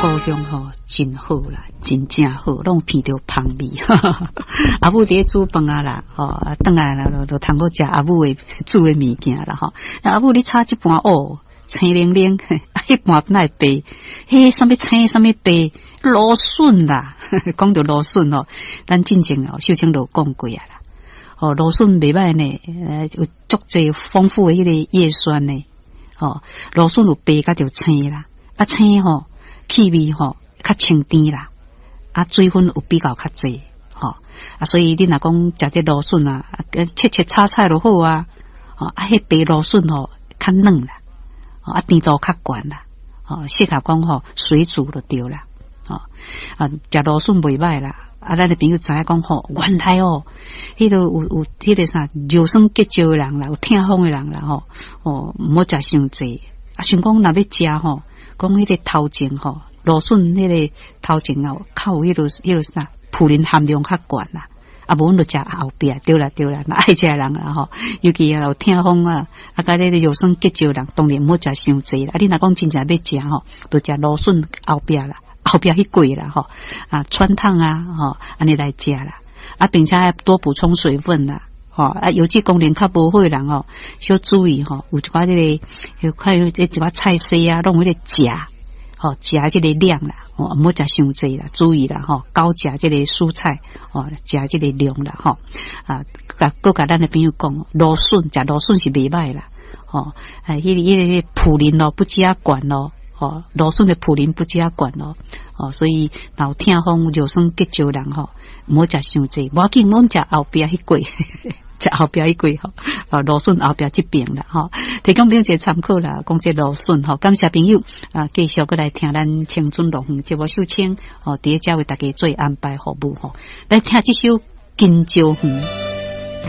故鄉吼真好啦，真正好，攏聞著芳味。阿母佇咧煮飯啊啦，吼，啊，轉來啦，就通好食阿母的煮的物件啦，吼。阿母你炒這盤哦，青靈靈，啊，彼盤哪會白？彼啥物青，啥物白？蘆筍啦，講著蘆筍哦，咱進前哦，秀清就講過啊啦。哦，蘆筍袂䆀呢，有足濟豐富的彼個葉酸呢。哦，蘆筍有白佮著青啦，啊青吼，氣味吼較清甜啦，啊水分有比較較濟，吼啊，所以你若講食這蘆筍啊，切切炒菜就好啊，吼啊，彼白蘆筍吼較軟啦，啊甜度較懸啦，吼適合講吼水煮就對啦，吼啊食蘆筍袂䆀啦，啊咱的朋友知影講吼，原來哦，彼個有彼個啥尿酸結石的人啦，有痛風的人啦，吼哦毋好食傷濟，啊想講若欲食吼，講彼個頭前吼。蘆筍彼個頭前啊，較有彼個啥，普林含量較懸啦。啊，無阮就食後壁，對啦對啦，若愛食的人啦吼，尤其啊有痛風啊，啊佮這個尿酸結石的人，當然毋好食傷濟啦。啊，你若講真正欲食吼，就食蘆筍後壁啦，後壁彼粿啦吼，啊，汆燙啊吼，按呢來食啦。啊，並且愛多補充水分啦。吼啊，腰子功能較無好的人吼，小注意吼，有一寡這個，有塊一寡菜色啊，攏有彼個鉀。吼，鉀這個量啦，吼，毋好食傷濟啦，注意啦，吼，高鉀這個蔬菜，吼，鉀這個量啦，吼，啊，共閣共咱的朋友講，蘆筍食蘆筍是袂䆀啦，吼，啊，彼個普林哦，不止仔懸咯，吼，蘆筍的普林不止仔懸咯，哦，所以若有痛風、尿酸結石人吼，毋好食傷濟，無要緊，阮食後壁彼粿。食後壁彼粿吼，啊，蘆筍後壁這邊啦，吼，提供朋友一個參考啦，講這蘆筍吼，感謝朋友啊，繼續閣來聽咱青春樂園節目秀清哦，佇咧遮為大家做安排服務吼，來聽這首《金蕉園》。